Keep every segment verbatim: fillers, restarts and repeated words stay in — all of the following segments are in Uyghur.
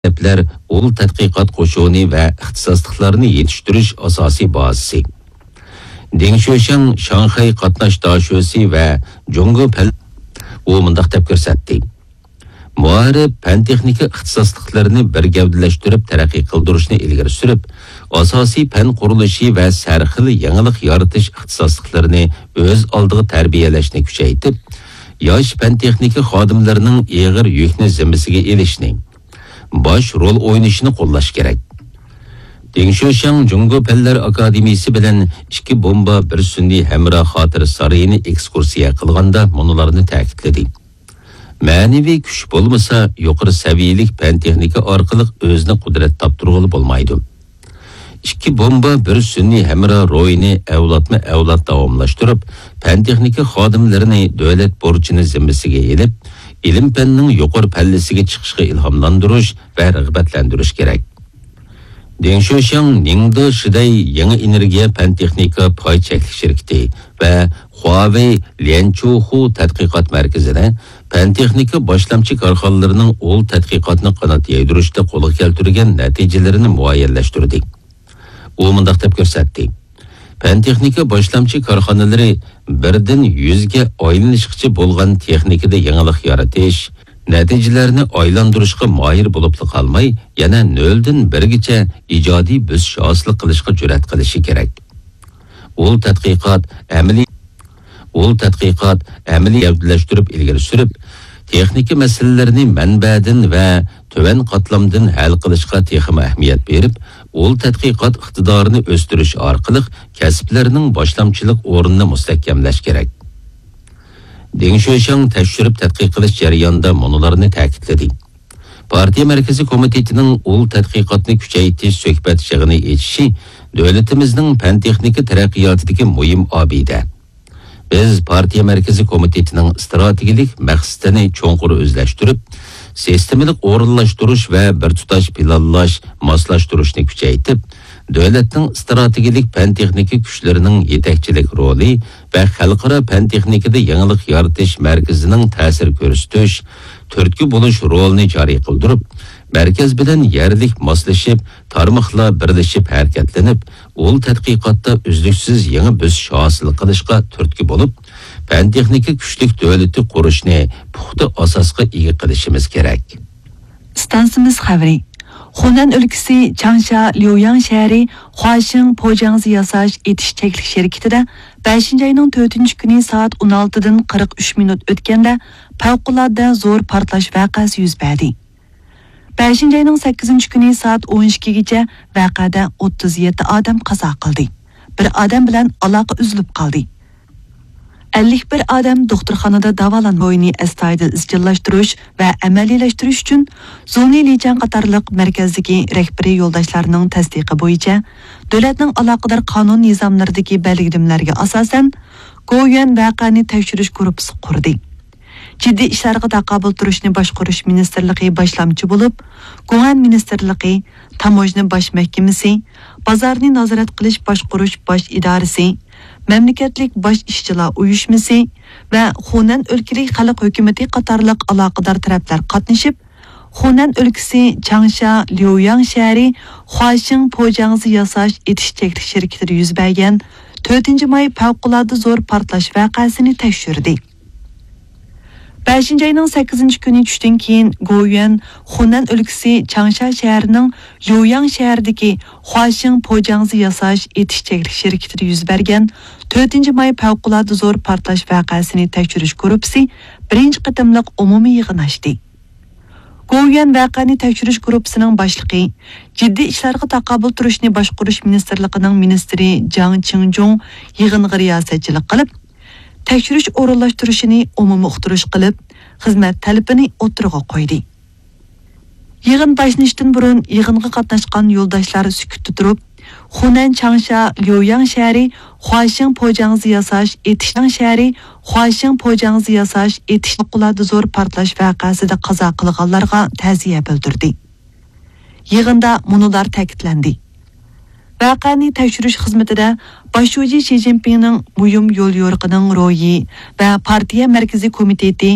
مەكتەپلەر ئۇل تەتقىقات قوشۇنى ۋە ئىختىساسلىقلارنى يېتىشتۈرۈش ئاساسىي بازىسى. دېڭ شۆشياڭ شاڭخەي قاتناش داشۆسى ۋە جۇڭگو پەن، ئۇ مۇنداق دەپ كۆرسەتتى. مائارىپ، پەن-تېخنىكا ئىختىساسلىقلىرىنى بىر گەۋدىلەشتۈرۈپ تەرەققىي قىلدۇرۇشنى ئىلگىرى سۈرۈپ، ئاساسىي پەن قۇرۇلۇشى ۋە سەرخىل يېڭىلىق يارىتىش ئىختىساسلىقلىرىنى ئۆز ئالدىغا تەربىيەلەشنى كۈچەيتىپ، ياش پەن-تېخنىكا خادىملىرىنىڭ ئېغىر يۈكنى زىممىسىگە ئېلىشنى، باش رول ئوينىشىنى قوللاش كېرەك. دېڭ شۆشياڭ جۇڭگو پەنلەر ئاكادېمىيىسى بىلەن ئىككى بومبا، بىر سۈنئىي ھەمراھ خاتىرە سارىيىنى ئېكسكۇرسىيە قىلغاندا مۇنۇلارنى تەكىتلىدى. مەنىۋى كۈچ بولمىسا، يۇقىرى سەۋىيەلىك پەن-تېخنىكا ئارقىلىق ئۆزىنى قۇدرەت تاپتۇرغىلى بولمايدۇ. ئىككى بومبا، بىر سۈنئىي ھەمراھ روھىنى ئەۋلادمۇ ئەۋلاد داۋاملاشتۇرۇپ، پەن-تېخنىكا خادىملىرىنى دۆلەت بۇرچىنى زىممىسىگە ئېلىپ، ئىلىم-پەننىڭ يۇقىرى پەللىسىگە چىقىشىغا ئىلھاملاندۇرۇش ۋە رىغبەتلەندۈرۈش كېرەك. دېڭ شۆشياڭ نىڭدې شىدەي يېڭى ئېنېرگىيە پەن-تېخنىكا پاي چەكلىك شىركىتى ۋە خۇاۋېي ليەنچۇخۇ تەتقىقات مەركىزىدە پەن-تېخنىكا باشلامچى كارخانىلىرىنىڭ ئۇل تەتقىقاتنى قانات يايدۇرۇشتا قولغا كەلتۈرگەن نەتىجىلىرىنى مۇئەييەنلەشتۈردى. ئۇ مۇنداق دەپ كۆرسەتتى. پەن-تېخنىكا باشلامچى كارخانىلىرى بىردىن يۈزگە ئايلىنىشقىچە بولغان تېخنىكىدا يېڭىلىق يارىتىش، نەتىجىلەرنى ئايلاندۇرۇشقا ماھىر بولۇپلا قالماي، يەنە نۆلدىن بىرگىچە ئىجادىي بۆسۈش ھاسىل قىلىشقا جۈرئەت قىلىشى كېرەك. ئۇل تەتقىقات ئەمەلىي، ئۇل تەتقىقات ئەمەلىي گەۋدىلەشتۈرۈپ ئىلگىرى سۈرۈپ، تېخنىكا مەسىلىلىرىنى مەنبەدىن ۋە تۆۋەن قاتلامدىن ھەل قىلىشقا تېخىمۇ ئەھمىيەت بېرىپ، ئۇل تەتقىقات ئىقتىدارىنى ئۆستۈرۈش ئارقىلىق كەسىپلەرنىڭ باشلامچىلىق ئورنىنى مۇستەھكەملەش كېرەك. دېڭ شۆشياڭ تەكشۈرۈپ تەتقىق قىلىش جەريانىدا مۇنۇلارنى تەكىتلىدى. پارتىيە مەركىزىي كومىتېتىنىڭ ئۇل تەتقىقاتنى كۈچەيتىش سۆھبەت يىغىنى ئېچىشى دۆلىتىمىزنىڭ پەن-تېخنىكا تەرەققىياتىدىكى مۇھىم ئابىدە. بىز پارتىيە مەركىزىي كومىتېتىنىڭ ئىستراتېگىيەلىك مەقسىتىنى چوڭقۇر ئۆزلەشتۈرۈپ، سىستېمىلىق ئورۇنلاشتۇرۇش ۋە بىر تۇتاش پىلانلاش، ماسلاشتۇرۇشنى كۈچەيتىپ، دۆلەتنىڭ ئىستراتېگىيەلىك پەن-تېخنىكا كۈچلىرىنىڭ يېتەكچىلىك رولى ۋە خەلقئارا پەن-تېخنىكىدا يېڭىلىق يارىتىش مەركىزىنىڭ تەسىر كۆرسىتىش، تۈرتكە بولۇش رولىنى جارى قىلدۇرۇپ، مەركەز بىلەن يەرلىك ماسلىشىپ، تارماقلار بىرلىشىپ ھەرىكەتلىنىپ، ئۇل تەتقىقاتتا ئۈزلۈكسىز يېڭى بۆسۈش ھاسىل قىلىشقا تۈرتكە بولۇپ، پەن-تېخنىكا كۈچلۈك دۆلىتى قۇرۇشنى پۇختا ئاساسقا ئىگە قىلىشىمىز كېرەك. ئىستانسىمىز خەۋىرى. خۇنەن ئۆلكىسى چاڭشا ليۇياڭ شەھىرى خۇاشىڭ پوجاڭزى ياساش ئېتىش چەكلىك شىركىتىدە بەشىنچى ئاينىڭ تۆتىنچى كۈنى سائەت ئون ئالتىدىن قىرىق ئۈچ مىنۇت ئۆتكەندە پەۋقۇلئاددە زور پارتلاش ۋەقەسى يۈز بەردى. بەشىنچى ئاينىڭ سەككىزىنچى كۈنى سائەت ئون ئىككىگىچە ۋەقەدە ئوتتۇز يەتتە ئادەم قازا قىلدى. بىر ئادەم بىلەن ئالاقە ئۈزۈلۈپ قالدى. ئەللىك بىر ئادەم دوختۇرخانىدا داۋالان بويىنى ئەستايىدىل ئىزچىللاشتۇرۇش ۋە ئەمەلىيلەشتۈرۈش ئۈچۈن زۇڭلى لىچەن قاتارلىق مەركەزدىكى رەھبىرىي يولداشلارنىڭ تەستىقى بويىچە دۆلەتنىڭ ئالاقىدار قانۇن نىزاملىرىدىكى بەلگىلىمىلەرگە ئاساسەن، گوۋۇيۈەن ۋەقەنى تەكشۈرۈش گۇرۇپپىسى قۇردى. جىددىي ئىشلارغا تاقابىل تۇرۇشنى باشقۇرۇش مىنىستىرلىقى باشلامچى بولۇپ، گۇڭئەن مىنىستىرلىقى، تاموژنا باش مەھكىمىسى، بازارنى نازارەت قىلىش باشقۇرۇش باش ئىدارىسى، مەملىكەتلىك باش ئىشچىلار ئۇيۇشمىسى ۋە خۇنەن ئۆلكىلىك خەلق ھۆكۈمىتى قاتارلىق ئالاقىدار تەرەپلەر قاتنىشىپ، خۇنەن ئۆلكىسى چاڭشا ليۇياڭ شەھىرى خۇاشىڭ پوجاڭزى ياساش ئېتىش چەكلىك شىركىتىدە يۈز بەرگەن تۆتىنچى ماي پەۋقۇلئاددە زور پارتلاش ۋەقەسىنى تەكشۈردى. بەشىنچى ئاينىڭ سەككىزىنچى كۈنى چۈشتىن كېيىن، گوۋۇيۈەن خۇنەن ئۆلكىسى چاڭشا شەھىرىنىڭ ليۇياڭ شەھىرىدىكى خۇاشىڭ پوجاڭزى ياساش ئېتىش چەكلىك شىركىتىدە يۈز بەرگەن تۆتىنچى ماي پەۋقۇلئاددە زور پارتلاش ۋەقەسىنى تەكشۈرۈش گۇرۇپپىسى بىرىنچى قېتىملىق ئومۇمىي يىغىن ئاچتى. گوۋۇيۈەن ۋەقەنى تەكشۈرۈش گۇرۇپپىسىنىڭ باشلىقى، جىددىي ئىشلارغا تاقابىل تۇرۇشنى باشقۇرۇش مىنىستىرلىقىنىڭ مىنىستىرى جاڭ چىڭجۇڭ يىغىنغا رىياسەتچىلىك قىلىپ، تەكشۈرۈش ئورۇنلاشتۇرۇشىنى ئومۇمىي ئۇقتۇرۇش قىلىپ، خىزمەت تەلىپىنى ئوتتۇرىغا قويدى. يىغىن باشلىنىشتىن بۇرۇن يىغىنغا قاتناشقان يولداشلار سۈكۈتتە تۇرۇپ، خۇنەن چاڭشا ليۇياڭ شەھىرى خۇاشىڭ پوجاڭزى ياساش ئېتىشنىڭ شەھىرى خۇاشىڭ پوجاڭزى ياساش ئېتىش پەۋقۇلئاددە زور پارتلاش ۋەقەسىدە قازا قىلغانلارغا تەزىيە بىلدۈردى. يىغىندا مۇنۇلار تەكىتلەندى. ۋەقەنى تەكشۈرۈش خىزمىتىدە باش شۇجى شى جىنپىڭنىڭ مۇھىم يوليورۇقىنىڭ روھى ۋە پارتىيە مەركىزىي كومىتېتى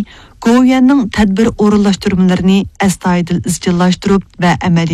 گوۋۇيۈەننىڭ تەدبىر ئورۇنلاشتۇرمىلىرىنى ئەستايىدىل ئىزچىللاشتۇرۇپ ۋە ئەمەلىي